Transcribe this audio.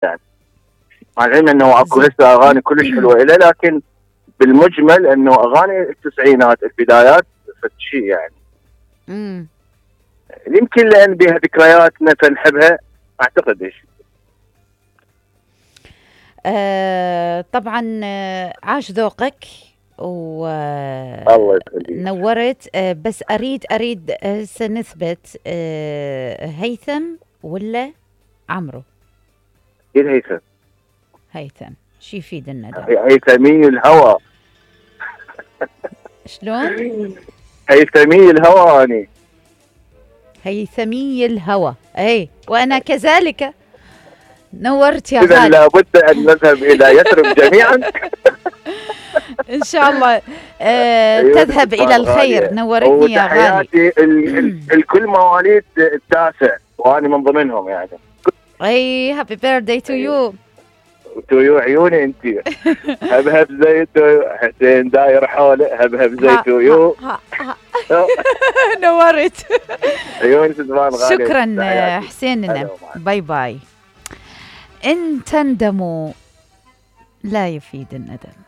يعني. مع العلم انه اكو هسه اغاني كلش حلوه له، لكن بالمجمل انه اغاني التسعينات البدايات شيء يعني. يمكن لان بها ذكرياتنا فنحبها، اعتقد ايش. طبعا عاش ذوقك الله يخليك. نورت. بس اريد سنثبت هيثم ولا عمرو؟ اكيد هيثم. شي يفيد الندى؟ هيثمي الهوى. شلون؟ هيثمي الهوى. اني هيثمي الهوى. اي وانا كذلك. نورت يا غالي. اذا لابد ان نذهب الى يثرب جميعا. ان شاء الله تذهب الى الخير. نورتني يا غالي. الكل مواليد التاسع وانا من ضمنهم يعني. اي هابي بيرثداي تو يو. تو يو عيوني انت. هبهب زي حسين داير حوله، هبهب زي تو يو. نورت. عيوني سدمان غالي. شكرا حسين. باي باي. ان تندموا لا يفيد الندم.